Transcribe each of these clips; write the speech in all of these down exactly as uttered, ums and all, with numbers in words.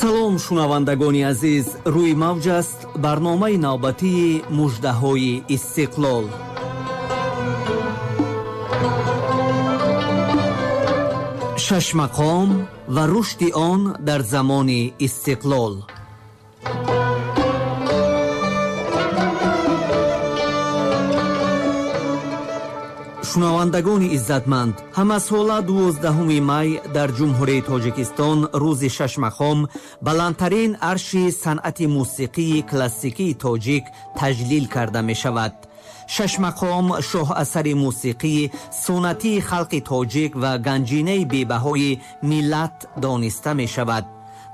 Салом, шунавандагони азиз, рӯи мавҷ аст барномаи навбатии муждаҳои истиқлол. Шашмақом ва рушди он дар замони истиқлол. Шунавандагони иззатманд, ҳамасола дувоздаҳуми май дар Ҷумҳурии Тоҷикистон рӯзи шашмақом баландтарин арши санъати мусиқии классикии тоҷик таҷлил карда мешавад. Шашмақом шоҳасари мусиқии суннатии халқи тоҷик ва ганҷинаи бебаҳои миллат дониста мешавад.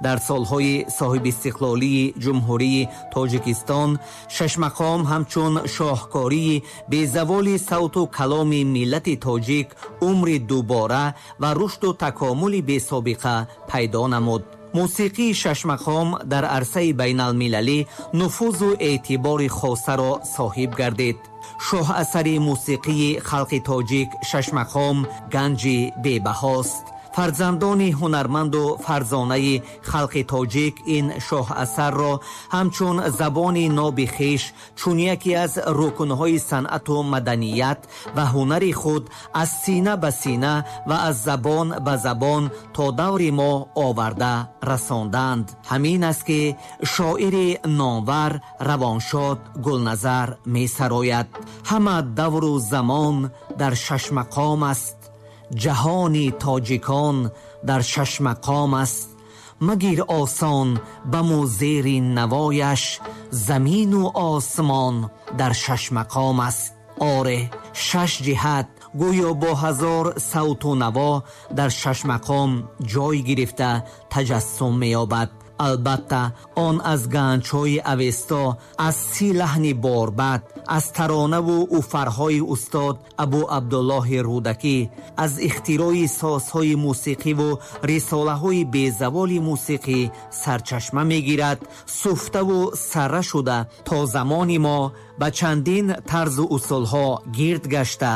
Дар солҳои соҳибистиқлолии Ҷумҳурии Тоҷикистон шашмақом ҳамчун шоҳкории безаволи савту каломи миллати тоҷик умри дубора ва рушду такомули бесобиқа пайдо намуд. Мусиқии шашмақом дар арсаи байналмилалӣ нуфузу эътибори хосаро соҳиб гардид. Шоҳасари мусиқии халқи тоҷик шашмақом ганҷи бебаҳост. Фарзандони ҳунарманду фарзонаи халқи тоҷик ин шоҳасарро ҳамчун забони ноби хеш, чун яке аз рукнҳои санъату маданият ва ҳунари худ аз сина ба сина ва аз забон ба забон то даври мо оварда расонданд. Ҳамин аст ки шоири номвар Равоншод Гулназар месарояд: ҳама давру замон дар шашмақом аст, ҷаҳони тоҷикон дар шашмақом аст. Магир осон ба музери навояш, замину осмон дар шашмақом аст. Оре, шаш ҷиҳат гӯё бо ҳазор савту наво дар шашмақом ҷой гирифта таҷассум меёбад. Албатта, он аз ганҷҳои Авесто, аз си лаҳни борбад, аз таронаву уфарҳои устод Абу Абдуллоҳи Рӯдакӣ, аз ихтирои созҳои мусиқиву рисолаҳои безаволи мусиқӣ сарчашма мегирад, суфтаву сарра шуда то замони мо ба чандин тарзу усулҳо гирд гашта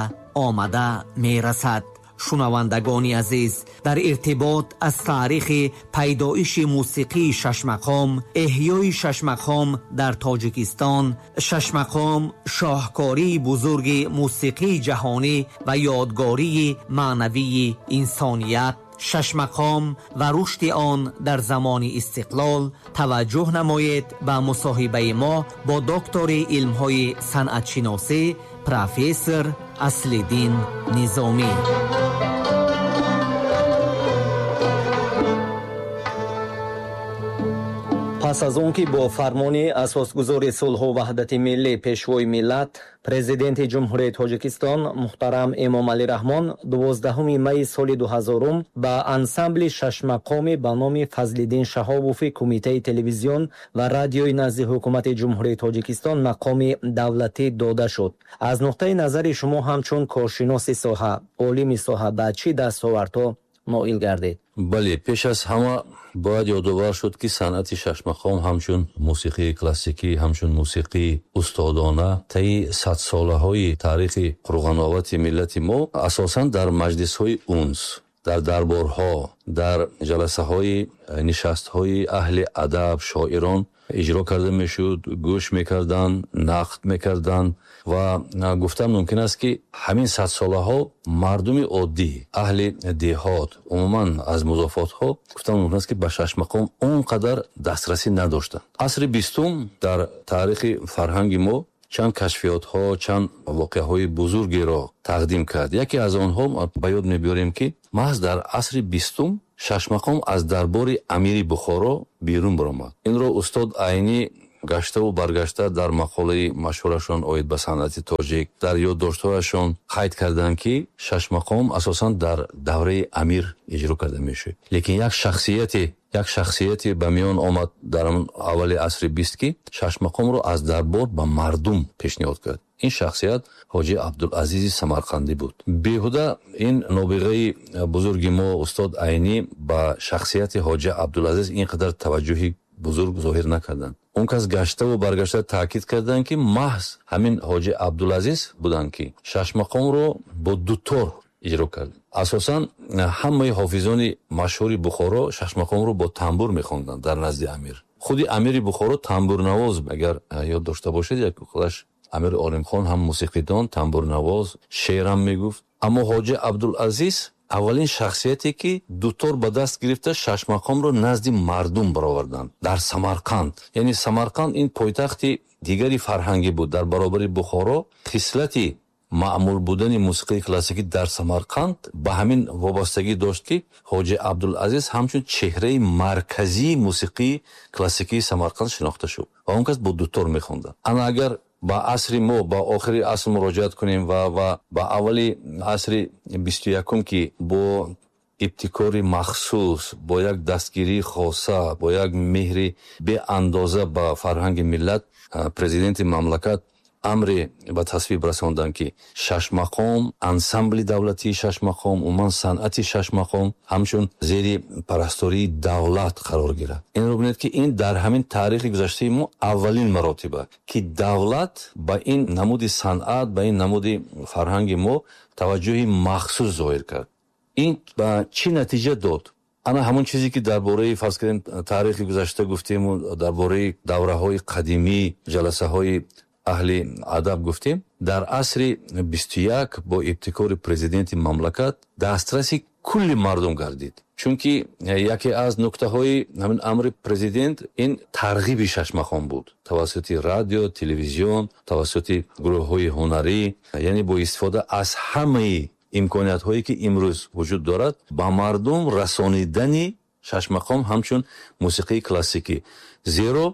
омада мерасад. Шунавандагони азиз, дар иртибот аз таърихи пайдоиши мусиқии шашмақом, эҳёи шашмақом дар Тоҷикистон, шашмақом шоҳкории бузурги мусиқии ҷаҳонӣ ва ёдгории маънавии инсоният, шашмақом ва рушди он дар замони истиқлол таваҷҷӯҳ намоед ба мусоҳибаи мо бо доктори илмҳои санъатшиносӣ профессор Аслиддин Низомӣ. Пас аз он ки бо фармони асосгузори сулҳу ваҳдати миллӣ, пешвои миллат, президенти Ҷумҳурии Тоҷикистон муҳтарам Эмомалӣ Раҳмон дувоздаҳуми майи соли дуҳазорум ба ансамбли шашмақоми ба номи Фазлиддин Шаҳобови Кумитаи телевизион ва радиои назди ҳукумати Ҷумҳурии Тоҷикистон мақоми давлатӣ дода шуд. Аз нуқтаи назари шумо ҳамчун коршиноси соҳа, олими соҳа ба чӣ дастовардҳо ноил гардид? Бале, пеш аз ҳама бояд ёдовар шуд, ки санъати шашмақом ҳамчун мусиқии классикӣ, ҳамчун мусиқии устодона таи садсолаҳои таърихи пурғановати миллати мо асосан дар маҷлисҳои унс, дар дарборҳо, дар ҷаласаҳои нишастҳои аҳли адаб, шоирон иҷро карда мешуд, гӯш мекарданд, нақд мекарданд ва гуфтан мумкин аст, ки ҳамин садсолаҳо мардуми оддӣ, аҳли деҳот, умуман аз музофотҳо гуфтан мумкин аст, ки ба шашмақом он қадар дастрасӣ надоштанд. Асри бистум дар таърихи фарҳанги мо чанд кашфиётҳо, чанд воқеаҳои бузургеро тақдим кард. Яке аз онҳо ба ёд мебиёрем, ки маҳз дар асри бистум шашмақом аз дарбори амири Бухоро берун баромад. Инро устод Айнӣ гаштаву баргашта дар мақолаи машҳурашон оид ба санъати тоҷик дар ёддоштҳояшон қайд карданд, ки шашмақом асосан дар давраи амир иҷро карда мешуд. Лекин як шахсияте як шахсияте ба миён омад дар аввали асри бист, ки шашмақомро аз дарбор ба мардум пешниҳод кард. Ин шахсият ҳоҷи Абдулазизи Самарқандӣ буд. Беҳуда ин нобиғаи бузурги мо устод Айнӣ ба шахсияти ҳоҷи Абдулазиз ин қадар таваҷҷӯҳи бузург зоҳир накарданд. Он кас гаштаву баргашта таъкид карданд, ки маҳз ҳамин ҳоҷи Абдулазиз буданд, ки шашмақомро бо дутор иҷро кардем. Асосан ҳамаи ҳофизони машҳури Бухоро шашмақомро бо тамбур мехонданд дар назди амир. Худи амири Бухоро тамбурнавоз, агар ёд дошта бошед, як худаш Амир Олимхон ҳам мусиқидон, тамбурнавоз, шеърам мегуфт. Аммо Ҳоҷи Абдулазиз аввалин шахсияте ки дутор ба даст гирифта шашмақомро назди мардум бароварданд дар Самарқанд. Яъне Самарқанд ин пойтахти дигари фарҳангӣ буд дар баробари Бухоро. Хислати маъмул будани мусиқии классикӣ дар Самарқанд ба ҳамин вобастагӣ дошт, ки Ҳоҷи Абдулазиз ҳамчун чеҳраи марказии мусиқии классикии Самарқанд шинохта шуд ва он кас бо дутор мехонданд. Ана агар ба асри мо, ба охири аср муроҷиат кунем ва ва ба аввали асри бисту якум, ки бо ибтикори махсус, бо як дастгирии хоса, бо як меҳри беандоза ба фарҳанги миллат, президенти мамлакат амре ба тасвиб расонданд, ки шашмақом, ансамбли давлатии шашмақом, умуман санъати шашмақом ҳамчун зери парастории давлат қарор гирад. Инро бинед, ки ин дар ҳамин таърихи гузаштаи мо аввалин маротиба, ки давлат ба ин намуди санъат, ба ин намуди фарҳанги мо таваҷҷӯҳи махсус зоҳир кард. Ин ба чӣ натиҷа дод? Ана ҳамон чизе ки дар бораи, фарз кардем, таърихи гузашта гуфтему, дар бораи давраҳои қадимӣ, ҷаласаҳои аҳли адаб гуфтем, дар асри бисту як бо ибтикори президенти мамлакат дастраси кулли мардум гардид. Чунки яке аз нуктаҳои ҳамин амри президент ин тарғиби шашмақом буд тавассути радио, телевизион, тавассути гурӯҳҳои ҳунарӣ, яъне бо истифода аз ҳамаи имкониятҳое ки имрӯз вуҷуд дорад, ба мардум расонидани шашмақом ҳамчун мусиқии классикӣ. Зеро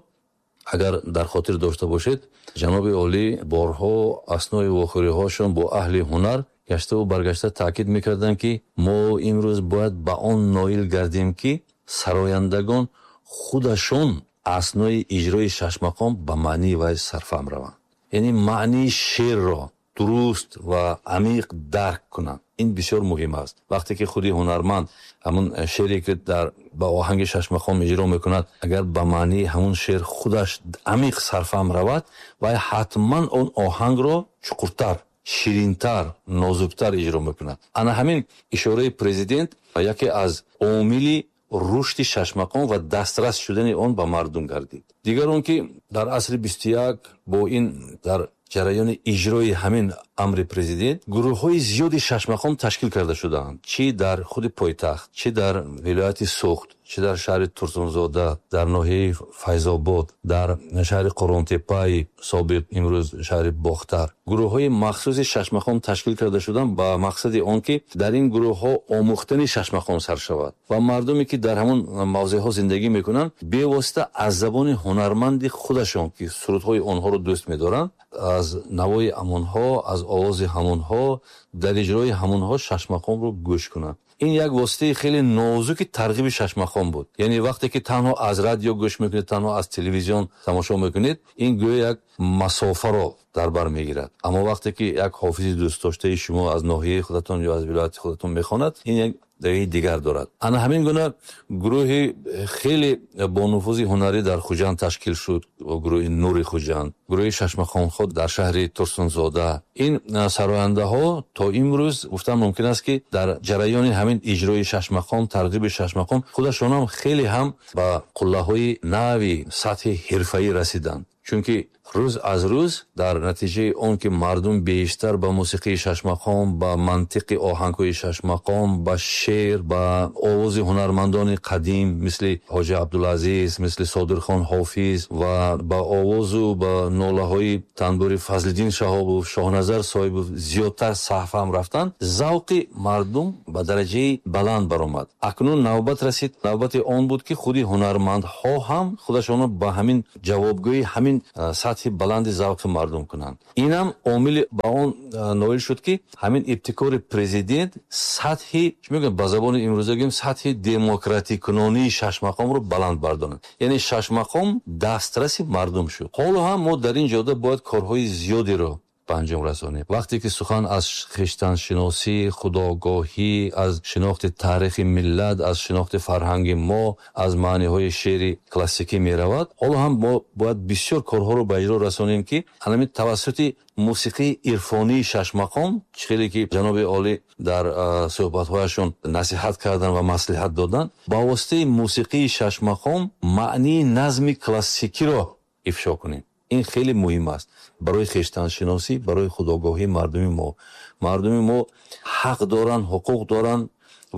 агар дар хотир дошта бошед, ҷаноби олӣ борҳо аснои вохӯриҳошон бо аҳли ҳунар гаштаву баргашта таъкид мекарданд, ки мо имрӯз бояд ба он ноил гардем, ки сарояндагон худашон аснои иҷрои шашмақом ба маънии вай сарфаҳм раванд, яъне маънии шеърро дуруст ва амиқ дарк кунанд. Ин бисёр муҳим аст. Вақте ки худи ҳунарманд ҳамун шеъре ки дар ба оҳанги шашмақом иҷро мекунад, агар ба маънии ҳамун шеър худаш амиқ сарфаҳм равад, вай ҳатман он оҳангро чуқуртар, ширинтар, нозуктар иҷро мекунад. Ана ҳамин ишораи президент яке аз омили рушди шашмақом ва дастрас шудани он ба мардум гардид. Дигар он ки дар асри бисту як бо ин дар ҷараёни иҷрои ҳамин амри президент гурӯҳҳои зиёди шашмақом ташкил карда шудаанд, чӣ дар худи пойтахт, чӣ дар вилояти Суғд, чӣ дар шаҳри Турсунзода, дар ноҳияи Файзобод, дар шаҳри Қурғонтеппаи собиқ, имрӯз шаҳри Бохтар. Гурӯҳҳои махсуси шашмақом ташкил карда шуданд ба мақсади он ки дар ин гурӯҳҳо омӯхтани шашмақом сар шавад ва мардуме ки дар ҳамон мавзеъҳо зиндагӣ мекунанд, бевосита аз забони ҳунарманди худашон, ки сурудҳои онҳоро дӯст медоранд, аз навои ҳамонҳо, аз овози ҳамонҳо, дар иҷрои ҳамонҳо шашмақомро гӯш кунанд. Ин як воситаи хеле нозуки тарғиби шашмақом буд. Яъне вақте ки танҳо аз радио гӯш мекунед, танҳо аз телевизион тамошо мекунед, ин гӯё як масофаро дар бар мегирад. Аммо вақте ки як ҳофизи дӯстдоштаи шумо аз ноҳияи худатон ё аз вилояти худатон мехонад, ин як давии дигар дорад. Ана ҳамин гуна гурӯҳи хеле бонуфузи ҳунарӣ дар Хуҷанд ташкил шуд, гурӯҳи Нури Хуҷанд, гурӯҳи шашмақомхо дар шаҳри Турсунзода. Ин сарояндаҳо то имрӯз гуфтан мумкин аст, ки дар ҷараёни ҳамин иҷрои шашмақом, тарғиби шашмақом худашонам хеле ҳам ба қуллаҳои нави сатҳи ҳирфаӣ расиданд. Чунки рӯз аз рӯз дар натиҷаи он ки мардум бештар ба мусиқии шашмақом, ба мантиқи оҳангҳои шашмақом, ба шеър, ба овози ҳунармандони қадим мисли Ҳоҷи Абдулазиз, мисли Содирхон Ҳофиз ва ба овозу ба нолаҳои танбури Фазлиддин Шаҳобов, Шоҳназар Соҳибов зиёдтар саҳфаҳм рафтанд, завқи мардум ба дараҷаи баланд баромад. Акнун навбат расид, навбати он буд, ки худи ҳунармандҳо ҳам худашонро ба ҳамин ҷавобгӯи ҳамин сатҳи баланди завқи мардум кунанд. Инам омили ба он ноил шуд, ки ҳамин ибтикори президент сатҳи, чӣ мегӯям, ба забони имрӯза гӯем, сатҳи демократикунонии шашмақомро баланд бардорад. Яъне шашмақом дастраси мардум шуд. Ҳоло ҳам мо дар ин ҷода бояд корҳои зиёдеро ба анҷом расонем. Вақте ки сухан аз хештаншиносӣ, худогоҳӣ, аз шинохти таърихи миллат, аз шинохти фарҳанги мо, аз маъниҳои шеъри классикӣ меравад, ҳоло ҳам мо бояд бисёр корҳоро ба иҷро расонем, ки ҳамин тавассути мусиқии ирфонии шашмақом, чӣ хеле ки ҷаноби олӣ дар суҳбатҳояшон насиҳат кардан ва маслиҳат додан, ба воситаи мусиқии шашмақом маънии назми классикиро ифшо кунем. Ин хеле муҳим аст барои хештаншиносӣ, барои худогоҳии мардуми мо. Мардуми мо ҳақ доранд, ҳуқуқ доранд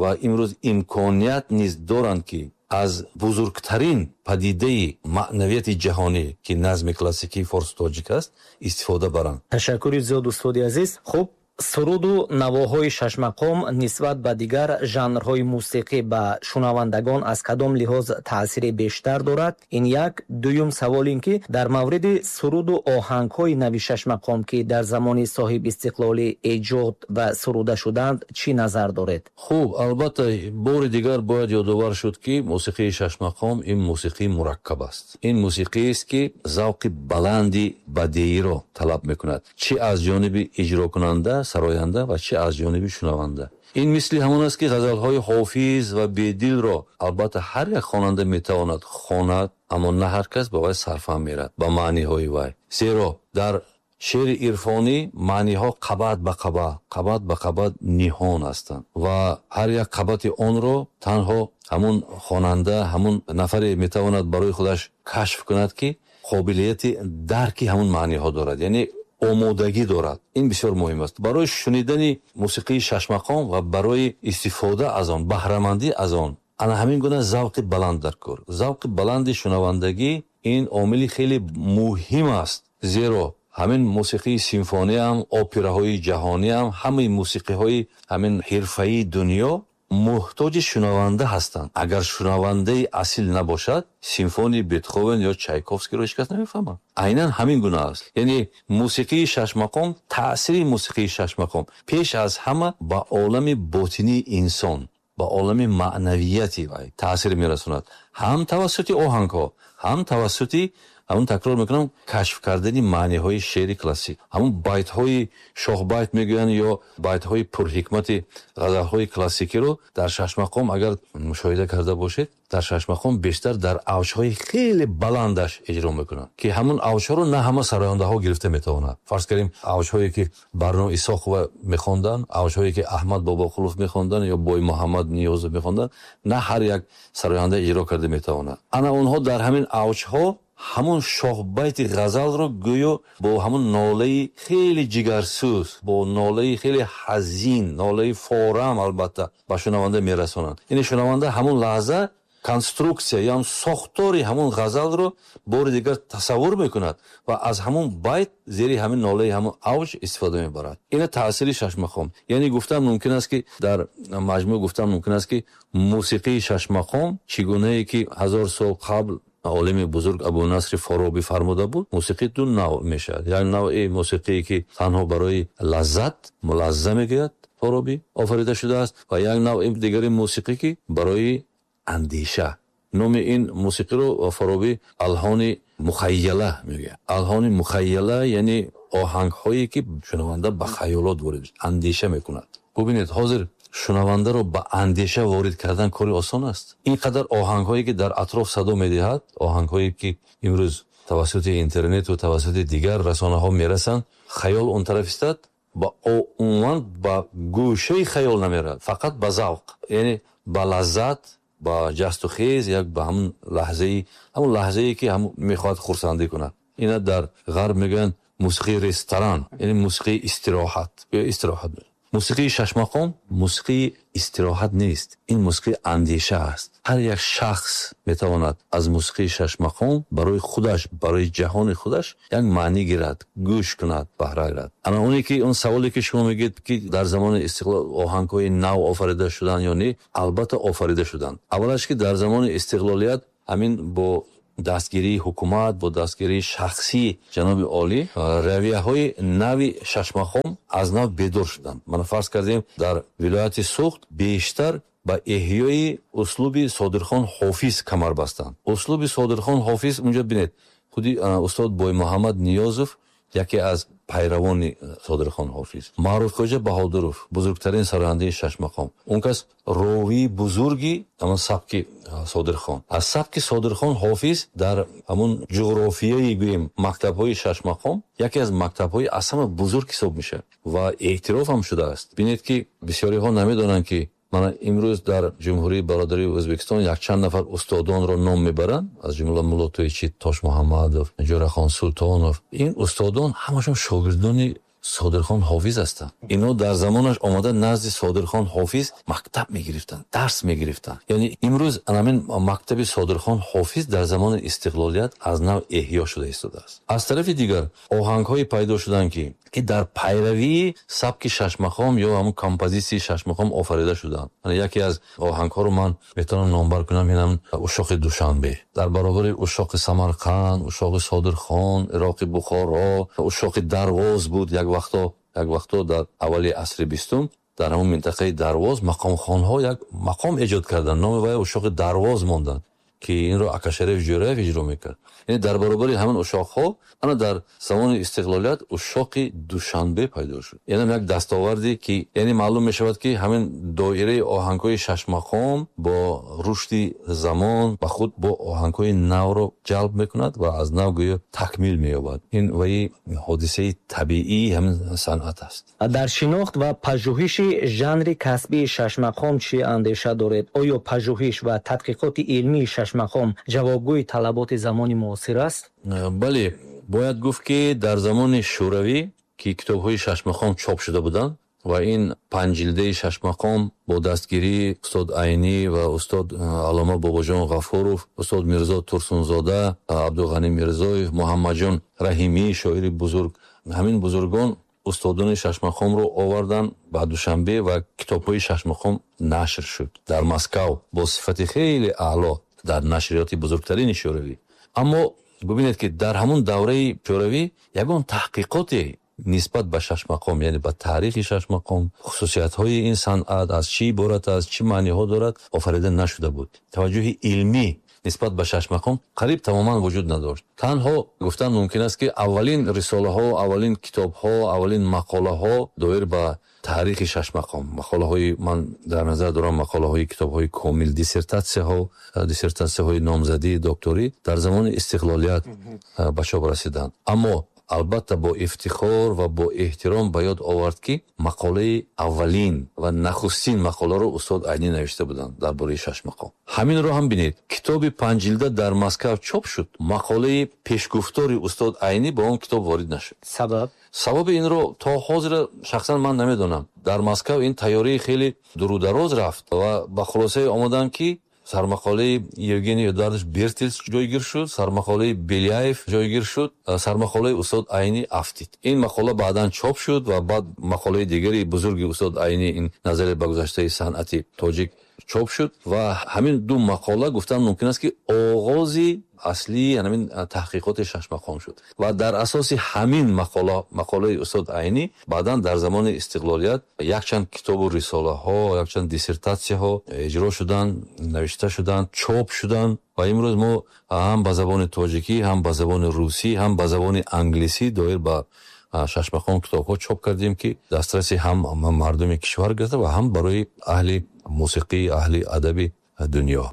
ва имрӯз имконият низ доранд, ки аз бузургтарин падидаи маънавияти ҷаҳонӣ, ки назми классикии форсу тоҷик аст, истифода баранд. Ташаккури зиёд, устоди азиз. Хуб, суруду навоҳои шашмақом нисбат ба дигар жанрҳои мусиқӣ ба шунавандагон аз кадом лиҳоз таъсири бештар дорад? Ин як. Дуюм савол ин ки дар мавриди суруду оҳангҳои нави шашмақом, ки дар замони соҳибистиқлолӣ эҷод ва суруда шуданд, чӣ назар доред? Хуб, албатта, бори дигар бояд ёдовар шуд, ки мусиқии шашмақом ин мусиқии мураккаб аст. Ин мусиқиест, ки завқи баланди бадеиро талаб мекунад, чӣ аз ҷониби иҷрокунанда, сароянда ва чӣ аз ҷониби шунаванда. Ин мисли ҳамон аст, ки ғазалҳои Ҳофиз ва Бедилро албатта ҳар як хонанда метавонад хонад, аммо на ҳар кас ба вай сарфаҳм мерад, ба маъниҳои вай. Зеро дар шеъри ирфонӣ маъниҳо қабат ба қабат, қабат ба қабат ниҳон ҳастанд ва ҳар як қабати онро танҳо ҳамун хонанда, ҳамун нафаре метавонад барои худаш кашф кунад, ки қобилияти дарки ҳамун маъниҳо дорад, яъне омодагӣ дорад. Ин бисёр муҳим аст барои шунидани мусиқии шашмақом ва барои истифода аз он, баҳрамандӣ аз он. Ана ҳамин гуна завқи баланд дар кор. Завқи баланди шунавандагӣ ин омили хеле муҳим аст, зеро ҳамин мусиқии симфониям, операҳои ҷаҳониям, ҳамаи мусиқиҳои ҳамин ҳирфаии дунё муҳтоҷи шунаванда ҳастанд. Агар шунавандаи асил набошад, симфонии Бетховен ё Чайковскиро ҳеҷ кас намефаҳмад. Айнан ҳамин гуна аст. Яъне мусиқии шашмақом, таъсири мусиқии шашмақом пеш аз ҳама ба олами ботинии инсон, ба олами маънавияти вай таъсир мерасонад. Ҳам тавассути оҳангҳо, ҳам тавассути ҳамун, такрор мекунам, кашф кардани маъниҳои шеъри классик. Ҳамун байтҳои шоҳбайт мегӯянд ё байтҳои пурҳикмати ғазалҳои классикиро дар шашмақом агар мушоҳида карда бошед, дар шашмақом бештар дар авҷҳои хеле баландаш иҷро мекунанд, ки ҳамун авҷҳоро на ҳама сарояндаҳо гирифта метавонанд. Фарз кардем, авҷҳое ки Барно Исоқова мехонданд, авҷҳое ки Аҳмад Бобоқулов мехонданд ё Бой Муҳаммад Ниёзов мехонданд, на ҳар як сароянда иҷро карда метавонад. Ана онҳо дар ҳамин авҷҳо ҳамун шоҳбайти ғазалро гӯё бо ҳамун нолаи хеле ҷигарсӯз, бо нолаи хеле ҳазин, нолаи форам албатта ба шунаванда мерасонанд. Яъне шунаванда ҳамун лаҳза конструксия ё сохтори ҳамун ғазалро бори дигар тасаввур мекунад ва аз ҳамун байт зери ҳамин нолаи ҳамун авҷ истифода мебарад. Ина таъсири шашмақом. Яъне гуфтан мумкин аст, ки дар маҷмӯъ гуфтан мумкин аст, ки мусиқии шашмақом чӣ гунае ки ҳазор сол қабл олими бузург Абу Насри Форобӣ фармуда буд, мусиқӣ ду навъ мешавад. Як навъи мусиқие, ки танҳо барои лаззат, мулазза мегӯяд Форобӣ, офарида шудааст, ва як навъи дигари мусиқӣ, ки барои андеша. Номи ин мусиқиро Форобӣ алҳони мухайяла мегӯяд. Алҳони мухайяла яъне оҳангҳое, ки шунаванда ба хаёлот ворид, андеша мекунад. Бубинед, ҳозир шунавандаро ба андеша ворид кардан кори осон аст? Ин қадар оҳангҳое, ки дар атроф садо медиҳад, оҳангҳое, ки имрӯз тавассути интернету тавассути дигар расонаҳо мерасанд, хаёл он тараф истад, ба умуман ба гӯшаи хаёл намерад, фақат ба завқ, яъне ба лаззат, ба ҷасту хез, як ба ҳамун лаҳзаи, ҳамун лаҳзае, ки ҳамун мехоҳад хурсандӣ кунад. Ина дар ғарб мегӯянд мусиқии ресторан, яъне мусиқии истироҳат ё истироҳат. Мусиқии шашмақом мусиқии истироҳат нест, ин мусиқии андеша аст. Ҳар як шахс метавонад аз мусиқии шашмақом барои худаш, барои ҷаҳони худаш як маънӣ гирад, гӯш кунад, баҳра гирад. Ана оне ки он саволе, ки шумо мегӯед, ки дар замони истиқлол оҳангҳои нав офарида шуданд ё не, албатта офарида шуданд. Аввалаш, ки дар замони истиқлолият ҳамин бо дастгирии ҳукумат, бо дастгирии шахсии ҷаноби олӣ равияҳои нави шашмақом аз нав бедор шуданд. Мана, фарз кардем, дар вилояти Суғд бештар ба эҳёи услуби Содирхон Ҳофиз камар бастанд. Услуби Содирхон Ҳофиз, унҷо бинед, худи устод Боймуҳаммад Ниёзов Яке аз пайравони Содирхон Ҳофиз. Маъруфхоҷа Баҳодуров, бузургтарин сарояндаи шашмақом. Он кас ровии бузурги ҳамон сабки Содирхон. Аз сабки Содирхон Ҳофиз дар ҳамон ҷуғрофияи, гӯем, мактабҳои шашмақом яке аз мактабҳои аз ҳама бузург ҳисоб мешавад ва эътироф ҳам шудааст. Бинед, ки бисёриҳо намедонанд, ки мана имрӯз дар Ҷумҳурии Бародарии Ӯзбекистон якчанд нафар устодонро ном мебаранд, аз ҷумла Мулло Тоичи Тошмуҳаммадов, Ҷӯрахон Султонов. Ин устодон ҳамашон шогирдони Содирхон Ҳофиз ҳастанд. Инҳо дар замонаш омада назди Содирхон Ҳофиз мактаб мегирифтанд, дарс мегирифтанд. Яъне имрӯз ҳамин мактаби Содирхон Ҳофиз дар замони истиқлолият аз нав эҳё шуда истодааст. Аз тарафи дигар оҳангҳое пайдо шуданд, ки ки дар пайравии сабки шашмақом ё ҳамун композитсияи шашмақом офарида шуданд. Яке аз оҳангҳоро ман метавонам номбар кунам, инам Ушоқи Душанбе. Дар баробари Ушоқи Самарқанд, Ушоқи Содирхон, Ироқи Бухоро, Ушоқи Дарвоз буд як вақто, як вақто дар аввали асри бистум дар ҳамун минтақаи Дарвоз мақомхонҳо як мақом эҷод карданд. Номи вай Ушоқи Дарвоз монданд, ки инро Акашариф Ҷӯраев иҷро мекард. Яъне дар баробари ҳамин ушоқҳо ана дар замони истиқлолият Ушоқи Душанбе пайдо шуд. Инам як дастоварде, ки яъне маълум мешавад, ки ҳамин доираи оҳангҳои шашмақом бо рушди замон ба худ бо оҳангҳои навро ҷалб мекунад ва аз нав гӯё такмил меёбад. Ин ваи ҳодисаи табиии ҳамин санъат аст. Дар шинохт ва пажӯҳиши жанри касбии шашмақом чӣ андеша доред? Оё пажӯҳиш ва тадқиқоти илмии шашмақом ҷавобгӯи талаботи замони муосир аст? Бале, бояд гуфт, ки дар замони Шӯравӣ, ки китобҳои шашмақом чоп шуда буданд ва ин панҷ ҷилдаи шашмақом бо дастгирии устод Айнӣ ва устод Аллома Бобоҷон Ғафуров, устод Мирзо Турсунзода, Абдуғанӣ Мирзоев, Муҳаммадҷон Раҳимӣ, шоири бузург, ҳамин бузургон устодони шашмақомро оварданд ба Душанбе ва китобҳои шашмақом нашр шуд дар Москав бо сифати хеле аъло дар нашриёти бузургтарини Шӯравӣ. Аммо бубинед, ки дар ҳамун давраи Шӯравӣ ягон таҳқиқоте нисбат ба шашмақом, яъне ба таърихи шашмақом, хусусиятҳои ин санъат аз чӣ иборат аст, чӣ маъниҳо дорад, офарида нашуда буд. Таваҷҷӯҳи илмӣ нисбат ба шашмақом қариб тамоман вуҷуд надошт. Танҳо гуфтан мумкин аст, ки аввалин рисолаҳо, аввалин китобҳо, аввалин мақолаҳо доир ба таърихи шашмақом, мақолаҳои, ман дар назар дорам мақолаҳои китобҳои комил, диссертатсияҳо, диссертатсияҳои номзадии докторӣ дар замони истиқлолият ба чоп расиданд. Аммо албатта бо ифтихор ва бо эҳтиром ба ёд овард, ки мақолаи аввалин ва нахустин мақоларо устод Айнӣ навишта буданд дар бораи шашмақом. Ҳаминро ҳам бинед, китоби панҷ ҷилда дар Москав чоп шуд, мақолаи пешгуфтори устод Айнӣ ба он китоб ворид нашуд. Сабаб? Сабаби инро то ҳозир шахсан ман намедонам. Дар Москав ин тайёрии хеле дурудароз рафт ва ба хулосае омаданд, ки сармақолаи Евгений Эдуардович Бертельс ҷойгир шуд, сармақолаи Беляев ҷойгир шуд, сармақолаи устод Айнӣ афтид. Ин мақола баъдан чоп шуд ва баъд мақолаи дигари бузурги устод Айнӣ, ин Назаре ба гузаштаи санъати тоҷик, чоп шуд ва ҳамин ду мақола, гуфтан мумкин аст, ки оғози аслии ҳамин таҳқиқоти шашмақом шуд ва дар асоси ҳамин мақола, мақолаи устод Айнӣ, баъдан дар замони истиқлолият якчанд китобу рисолаҳо, якчанд диссертатсияҳо иҷро шуданд, навишта шуданд, чоп шуданд ва имрӯз мо ҳам ба забони тоҷикӣ, ҳам ба забони русӣ, ҳам ба забони англисӣ доир ба шашмақом китобҳо чоп кардем, ки дастраси ҳам мардуми кишвар гирифта ва ҳам барои аҳли мусиқӣ, аҳли адаби дунё.